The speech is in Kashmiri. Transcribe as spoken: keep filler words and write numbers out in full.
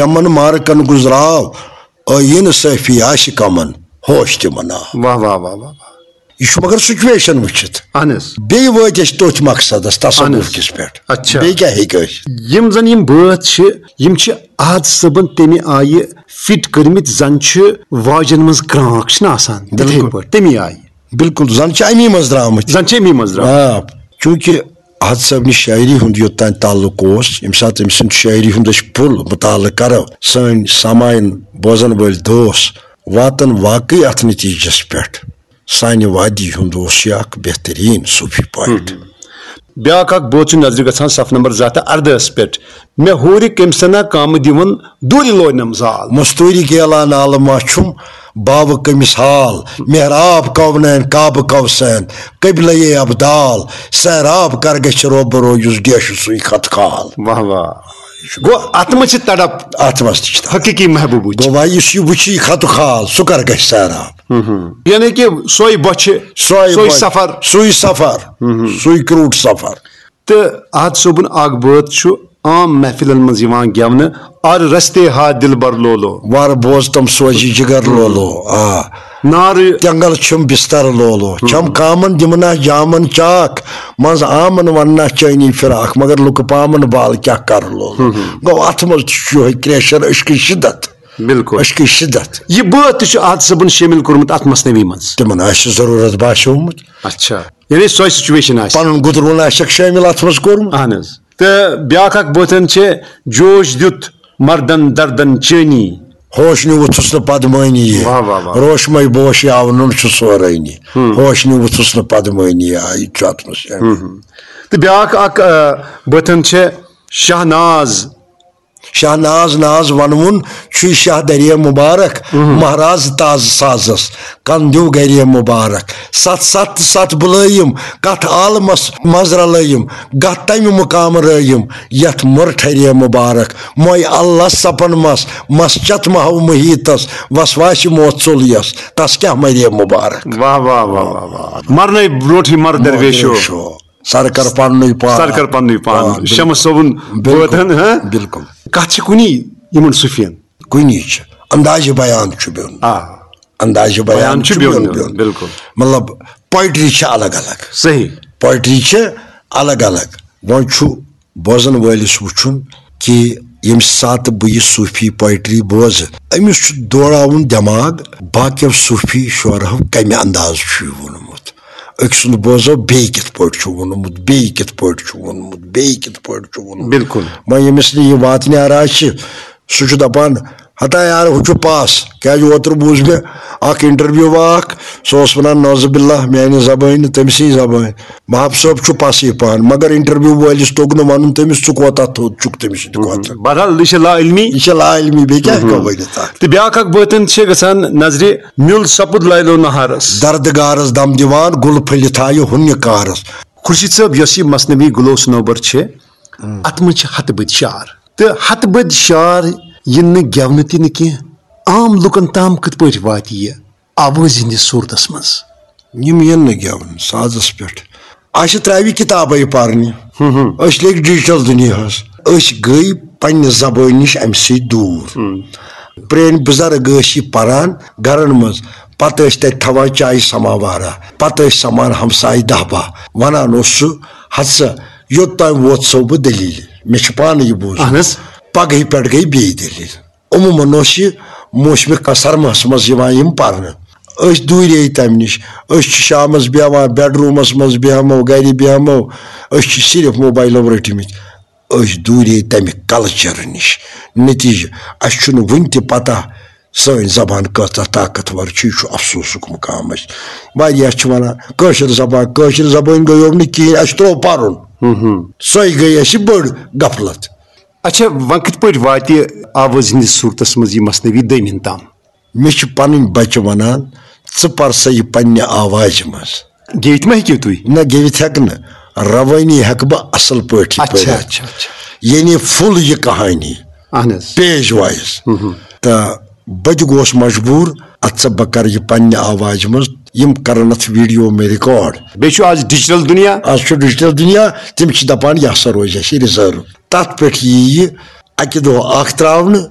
یمن مارکن گُزراو، ٲییٖنہٕ صٲفی آسہِ کمن، ہوش تہِ مناو۔ واہ، واہ، واہ، واہ، واہ۔ یہِ چھُ مگر سچویشن وٕچھِتھ۔ اہن حظ۔ بیٚیہِ وٲتۍ أسۍ تٔتھۍ مقصدس، تصوف اہن حظ۔ کِس پٮ۪ٹھ۔ اچھا۔ بیٚیہِ کیٛاہ ہیٚکہِ ٲسِتھ؟ یِم زن یِم بٲتھ چھِ، یِم چھِ احد صٲبن تمہِ آیہِ فٹ کٔرمٕتۍ، زن چھِ واجن منٛز کرٛانٛک چھِنہ آسان، تِتھے بِلکُل۔ پٲٹھۍ، تَمی آیہِ۔ بِلکُل، زن چھِ اَمی منٛز درٛامٕتۍ۔ زن چھِ اَمی منٛز درٛامٕتۍ۔ آ، چوٗنٛکہِ احد صٲبنہِ شٲعری ہُنٛد یوٚتام تعلق اوس، ییٚمہِ ساتہٕ أمۍ سُنٛد شٲعری ہُنٛد أسۍ پُل مطالعہٕ کرو، سٲنۍ سامعیٖن، بوزن وٲلۍ دوس واتن واقعی اتھ نتیجس پٮ۪ٹھ۔ سانہِ وادی ہُنٛد اوس یہِ اکھ بہتریٖن صوٗفی پویٹ۔ بیٛاکھ اکھ بٲتھ چھُ نظرِ گژھان صف نمبر زٕ ہتھ تہٕ اردہس پٮ۪ٹھ۔ مےٚ ہوٗرِ کٔمۍ سنا کامہٕ دِوان دوٗرِ لوینم زال۔ مستوٗری گیلا نالہٕ ما چھُم باوٕ کٔمِس حال؟ محراب کونین کعبہٕ کوسین قبلے ابدال۔ سیراب کر گژھِ روبرو یُس ڈیشہِ سُے خط خال۔ واہ واہ۔ گوٚو اتھ منٛز چھِ تڑپ۔ اتھ منٛز تہِ چھِ تڑپ۔ حقیقی محبوبٕچ۔ گوٚو وۄنۍ یُس یہِ وٕچھِ یہِ خط خال، سُہ کر گژھِ سیراب؟ یعنی کہِ سۄے بۄچھِ، سۄے سۄے بۄچھِ، سفر۔ سُے سفر، ہُم۔ سُے کرٛوٗٹھ سفر۔ تہٕ احد صٲبُن اکھ بٲتھ چھُ عام محفلن منٛز یِوان گٮ۪ونہٕ، "ار رستے ہا دلبر لولو۔" وار بوز تم سوزی جگر لولو۔ آ۔ نارٕ۔ تینگل چھم بستر لولو۔ چھم کامن دمنا جامن چاک۔ منٛز آمن وننا چٲنی فراق۔ مگر لُکہٕ پامن بال کیٛاہ کر لولو۔ گوٚو اتھ منٛز تہِ چھُ یِہوٚے کرٛیشر، عشقٕچ شدت۔ بِلکُل۔ عشقٕچ شدت۔ یہِ بٲتھ تہِ چھُ احد صٲبُن شٲمِل کوٚرمُت اتھ مثنوی منٛز۔ تِمن آسہِ ضروٗرت باسیومُت۔ اچھا۔ یعنی سۄے سچویشن آسہِ۔ پنُن گُترُن آسٮ۪کھ شٲمِل اتھ منٛز کوٚرمُت۔ اہن حظ۔ تہٕ بیٛاکھ اکھ بٲتن چھِ، "جوش دیُت مردن دردن چٲنی۔" ہوش نیوٗتھُس نہٕ پدمٲنی یہِ۔ واہ، واہ، واہ۔ روشمے بوش یاو نُن چھُ سورٲنی۔ ہوش نیوٗتھُس نہٕ پدمٲنی یہِ۔ آ، یہِ تہِ چھُ اتھ منٛز شٲمِل۔ تہٕ بیٛاکھ اکھ، آ، بٲتن چھِ، "شاہناز۔" شاہناز ناز ونوُن چھُے شاہ درے مبارک۔ مہراز تاز سازس کن دیو گرے مبارک۔ ستھ ستھ تہٕ ستھ بُلٲیِم، کتھ عالمس منٛز رلٲیِم، گتھ تمہِ مقام رٲیِم، یتھ مُر ٹھرے مبارک۔ موے اللہ سپن مس، مس چتھ محو محیطس، وسواسہِ موت ژوٚل یس، تس کیاہ مرے مبارک۔ واہ، واہ، واہ، واہ، واہ۔ مرنے برونٹھٕے مر درویشو۔ درویشو۔ سر کر پننُے پان۔ سر کر پننُے پان۔ پان، بِلکُل۔ شمس صٲبُن بٲتن، ہاں؟ بِلکُل۔ کتھ چھِ کُنی یِمن صوٗفین؟ کُنی چھِ۔ اندازِ بیان چھُ بیوٚن۔ آ۔ اندازِ بیان بیان چھُ چھُ بیوٚن، بیوٚن، بیوٚن۔ بِلکُل۔ مطلب، پویٹری چھِ الگ الگ۔ صحیح۔ پویٹری چھِ الگ الگ۔ وۄنۍ چھُ بوزن وٲلِس وٕچھُن کہِ ییٚمہِ ساتہٕ بہٕ یہِ صوٗفی پویٹری بوزٕ، أمِس چھُ دوڑاوُن دٮ۪ماغ باقیو صوٗفی شعرہو کمہِ انداز چھُ یہِ ووٚنمُت۔ أکۍ سُنٛد بوزو بیٚیہِ کِتھ پٲٹھۍ چھُ ووٚنمُت، بیٚیہِ کِتھ پٲٹھۍ چھُ ووٚنمُت، بیٚیہِ کِتھ پٲٹھۍ چھُ ووٚنمُت۔ بِلکُل۔ وۄنۍ ییٚمِس نہٕ یہِ واتنہِ آرا چھِ، سُہ چھُ دپان، "ہتا یار، ہُہ چھُ پس۔" کیازِ اوترٕ بوٗز مےٚ اکھ انٹرویو اکھ، سُہ اوس ونان، "نعوذ باللہ، میانہِ زبٲنۍ نہٕ تٔمۍ سٕنٛز زبٲنۍ۔ محب صٲب چھُ پسٕے پہن۔" مگر انٹرویو وٲلِس توٚگ نہٕ ونُن تٔمِس، "ژٕ کوتاہ تھوٚد چھُکھ تٔمِس سۭتۍ کتھ۔" بہرحال، یہِ چھِ لا علمی۔ یہِ چھِ لا علمی، بیٚیہِ کیٛاہ ہٮ۪کو ؤنِتھ اتھ؟ تہٕ بیٛاکھ اکھ بٲتن چھِ گژھان نظرِ، "میُل سپُد لٲلو نہارس۔" درد گارس دم دِوان، گُل پھٔلِتھ آیہِ ہُنہِ کارس۔ خورشید صٲب، یۄس یہِ مثنوی گُلو صنوبر چھِ، اتھ منٛز چھِ ہتہٕ بٔدۍ شعر۔ تہٕ ہتہٕ بٔدۍ شعر یِن نہٕ گٮ۪ونہٕ تہِ نہٕ کینٛہہ۔ عام لُکن تام کِتھ پٲٹھۍ واتہِ یہِ آوازِ ہٕنٛدِس صوٗرتس منٛز؟ یِم یِن نہٕ گٮ۪ونہٕ سازس پٮ۪ٹھ۔ اسہِ ترٛاوِ کِتابے پرنہِ۔ أسۍ لٔگۍ ڈیجیٹل دُنیاہس۔ أسۍ گٔے پننہِ زبٲنۍ نِش امہِ سۭتۍ دوٗر۔ پرٛٲنۍ بُزرگ ٲسۍ یہِ پران گرن منٛز، پتہٕ ٲسۍ تتہِ تھاوان چایہِ سماوارا، پتہٕ ٲسۍ سمان ہمسایہِ دہ باہ۔ ونان اوس سُہ، "ہتہٕ سا، یوٚت تام ووت سو بہٕ دٔلیٖلہِ، مےٚ چھِ پانہٕ یہِ بوٗزمُت۔ اہن حظ۔ پگہٕے پٮ۪ٹھ گٔے بیٚیہِ دٔلیٖل۔" عموٗماً اوس یہِ موسمہِ کا-، سرماہس منٛز یِوان یِم پرنہٕ۔ أسۍ دوٗرے تمہِ نِش۔ أسۍ چھِ شامس بیٚہوان بیڈ روٗمس منٛز، بیٚہمو گرِ، بیٚہمو۔ أسۍ چھِ صرف موبایلو رٔٹمٕتۍ۔ أسۍ دوٗرے تمہِ کلچر نِش۔ نتیجہٕ، اسہِ چھُنہٕ وُنہِ تہِ پتہ سٲنۍ زبان کۭژاہ طاقتور چھِ۔ یہِ چھُ افسوسُک مقام اسہِ۔ واریاہ چھِ ونان، "کٲشِر زبان، کٲشِر زبٲنۍ گٔیو نہٕ کِہیٖنۍ، اسہِ ترٛوو پرُن۔" سۄے گٔے اسہِ بٔڑ غفلت۔ اچھا، وۄنۍ کِتھ پٲٹھۍ واتہِ آوازِ ہٕنٛدِس صوٗرتس منٛز یہِ مثنوی دٔیمِن تام؟ مےٚ چھِ پنٕنۍ بچہِ ونان، "ژٕ پر سا یہِ پننہِ آوازِ منٛز۔" گیٚوِتھ ما ہیٚکِو تُہۍ؟ نہ، گیٚوِتھ ہٮ۪کہٕ نہٕ، روٲنی ہٮ۪کہٕ بہٕ اصل پٲٹھۍ اچھا، پٔرِتھ۔ اچھا، اچھا۔ یعنی فُل یہِ کہانی۔ اہن حظ۔ Page wise. تہٕ بہٕ تہِ گوس مجبوٗر، اتھ سا بہٕ کرٕ یہِ پننہِ آوازِ منٛز، یِم کرن اتھ ویڈیو مےٚ ریکارڈ۔ بیٚیہِ چھُ آز ڈیجیٹل دُنیا۔ آز چھُ ڈیجیٹل دُنیا، تِم چھِ دپان یہِ ہسا روزِ اَسہِ ریزرو۔ تتھ پٮ۪ٹھ یی یہِ اکہِ دۄہ اکھ تراونہٕ،